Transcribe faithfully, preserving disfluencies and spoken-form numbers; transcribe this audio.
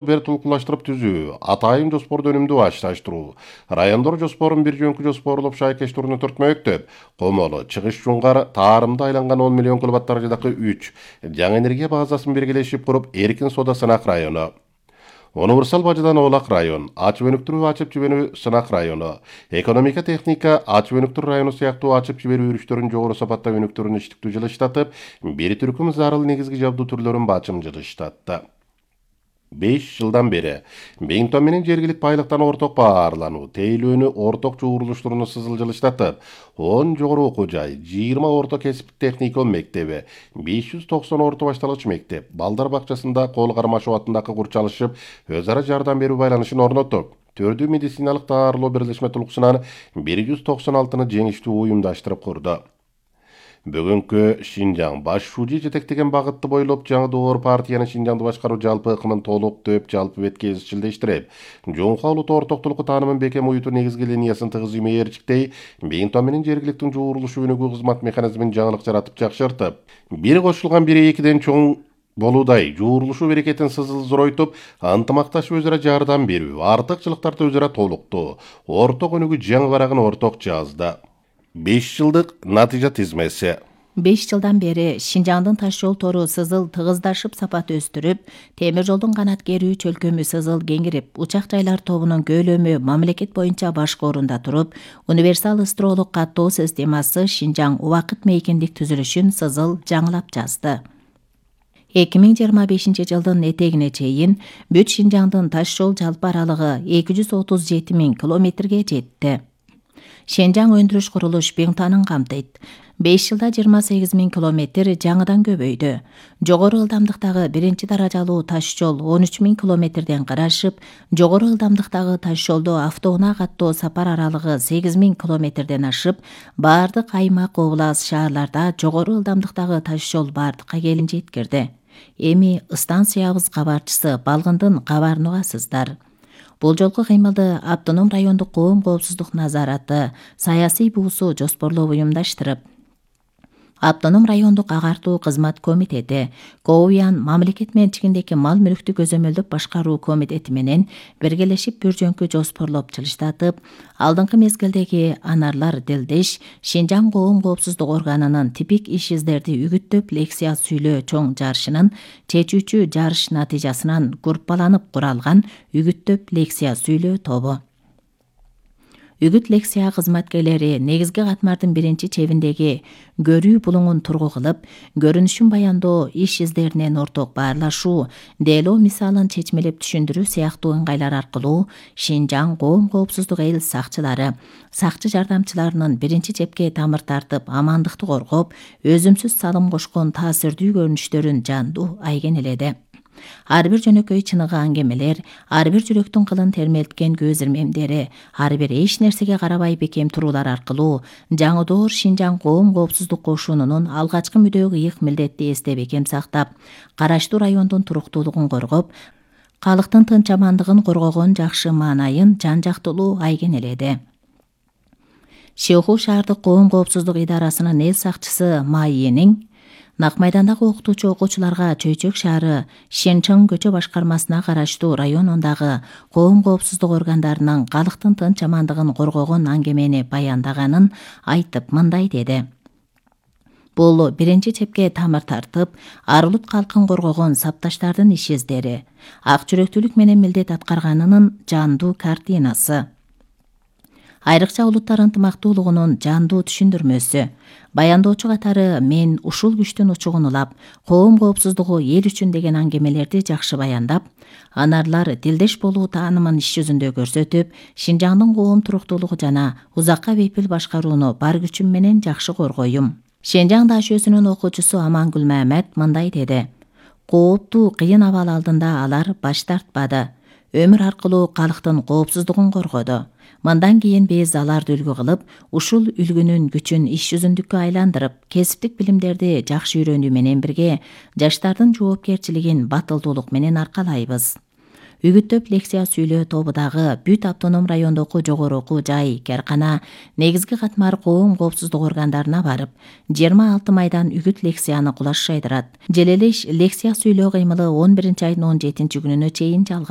бир толкулаштырып түзүү, атайын жоспорду өнүмдүү башташтыруу, райондор жоспорун бир жөнкү жоспорлоп шайкештирүүнү төрт мектеп, Комолу, Чыгыш Жуңгар, Таарымда айланган он миллион киловатт даражадагы үч жаңы энергия базасын биргелешип куруп, Эркин Сода сынак району. Универсал бажадан Оолак район, ачып өнүктүрүү ачып жиберүү сынак району, экономика техника ачып өнүктүрүү району сыяктуу ачып жиберүү үрүштөрүн жогору сапатта өнүктүрүүнү иштиктүү жылыштатып, бир түркүм зарыл негизги жабдуу түрлөрүн бачым жылыштатты. беш жылдан бери Бейинтон менен жергилик байлыктан орток баарлануу, тейлөөнү орток жуурулуштууну сызыл жылыштатып, он жогору окуу жай, жыйырма орто кесиптик техникум мектеби, беш жүз токсон орто башталгыч мектеп, балдар бакчасында Кол Кармашев атындагы курчалышып, өз ара жардам берүү байланышын орноттук. Төрдүү медициналык даарылоо бирлешме тулкусунан бир жүз токсон алтыны жеңиштүү уюмдаштырып курду. Бүгүнкү Шинжаң баш шужи жетектеген багытты бойлоп жаңы доор партиянын Шинжаңды башкаруу жалпы ыкымын толук дөп жалпы бетке изчилдештирип, жоңку улуттуу ортоктулукку таанымын бекем уютуу негизги линиясын тыгыз имээрчиктей, Бейинтон менен жергиликтин жуурулушу өнүгүү кызмат механизмин жаңылык жаратып жакшыртып, бир кошулган бири экиден чоң болуудай жуурулушу берекетин сызыл зоройтуп, ынтымакташып өз ара жардам берүү, артыкчылыктарды өз ара толуктоо, орток өнүгүү жаңы барагын орток жазды. беш жылдык натыйжа тизмеси. беш жылдан бери Шинжаңдын таш жол тору сызыл тыгыздашып сапат өстүрүп, темир жолдун канат керүү чөлкөмү сызыл кеңирип, учак жайлар тобунун көлөмү мамлекет боюнча башкы орунда туруп, универсал ыстыроолук каттоо системасы Шинжаң убакыт мейкиндик түзүлүшүн сызыл жаңылап жазды. эки миң жыйырма бешинчи жылдын этегине чейин бүт Шинжаңдын таш жол жалпы аралыгы эки жүз отуз жети миң километрге жетти. Шинжаң өндүрүш курулуш Бейинтонун камтыйт. беш жылда жыйырма сегиз миң километр жаңыдан көбөйдү. Жогору ылдамдыктагы биринчи даражалуу таш жол он үч миң километрден карашып, жогору ылдамдыктагы таш жолдо автоунаа каттоо сапар аралыгы сегиз миң километрден ашып, баардык аймак, облас, шаарларда жогору ылдамдыктагы таш жол бардыкка келин жеткирди. Эми станциябыз кабарчысы Балгындын кабарын угасыздар. Бул жолку кыймылды Автоном райондук коом коопсуздук назараты, саясий буусу жоспорлоп уюмдаштырып, Автоном райондук агартуу кызмат комитети, Коуян мамлекет менчигиндеги мал мүлктү көзөмөлдөп башкаруу комитети менен биргелешип бир жөнкү жоспорлоп жылыштатып, алдыңкы мезгилдеги анарлар Делдеш Шинжаң коом коопсуздук органынын типик иш издерди үгүттөп лекция сүйлөө чоң жарышынын чечүүчү жарыш натыйжасынан группаланып куралган үгүттөп лекция сүйлөө тобу. Үгүт лекция кызматкерлери негизги катмардын биринчи чебиндеги көрүү булуңун тургу кылып, көрүнүшүн баяндоо, иш издеринен орток баарлашуу, дело мисалын чечмелеп түшүндүрүү сыяктуу ыңгайлар аркылуу Шинжаң коом коопсуздук эл сакчылары, сакчы жардамчыларынын биринчи чепке тамыр тартып, амандыкты коргоп, өзүмсүз салым кошкон таасирдүү көрүнүштөрүн жандуу айгинеледи. Ар бир жөнөкөй чыныгы аңгемелер, ар бир жүрөктүн кылын термелткен көз ирмемдери, ар бир эч нерсеге карабай бекем туруулар аркылуу жаңы доор Шинжаң коом коопсуздук кошунунун алгачкы мүдөө ыйык милдетти эсте бекем сактап, караштуу райондун туруктуулугун коргоп, калктын тынч амандыгын коргогон жакшы маанайын жан жактылуу айгинеледи. Шыйху шаардык коом коопсуздук идарасынын эл сакчысы Майенин Нак майдандагы окутуучу окуучуларга Чөйчөк шаары Шенчоң көчө башкармасына караштуу районундагы коом коопсуздук органдарынын калктын тынч амандыгын коргогон аңгемени баяндаганын айтып мындай деди. Бул биринчи чепке тамыр тартып, ар улут калкын коргогон сапташтардын иш издери, ак жүрөктүүлүк менен милдет аткарганынын жандуу картинасы. Айрыкча улуттар ынтымактуулугунун жандуу түшүндүрмөсү. Баяндоочу катары мен ушул күчтүн учугун улап, коом коопсуздугу эл үчүн деген аңгемелерди жакшы баяндап, анарлар дилдеш болуу таанымын иш жүзүндө көрсөтүп, Шинжаңдын коом туруктуулугу жана узакка бейпил башкарууну бар күчүм менен жакшы коргоюм. Шинжаң дашөсүнүн окуучусу Амангүл Мамед мындай деди. Кооптуу кыйын абал алдында алар баш тартпады. Өмүр аркылуу калктын коопсуздугун коргоду. Мындан кийин биз аларды үлгү кылып, ушул үлгүнүн күчүн иш жүзүндүккө айландырып, кесиптик билимдерди жакшы үйрөнүү менен бирге жаштардын жоопкерчилигин батылдуулук менен аркалайбыз. Үгүттөп лекция сүйлөө тобу дагы бүт автоном райондогу жогору окуу жай, кээркана, негизги катмар коом коопсуздук органдарына барып, жыйырма алты майдан үгүт лекцияны кулаш жайдырат. Желелеш лекция сүйлөө кыймылы он биринчи айдын он жетинчи күнүнө чейин жалгашат.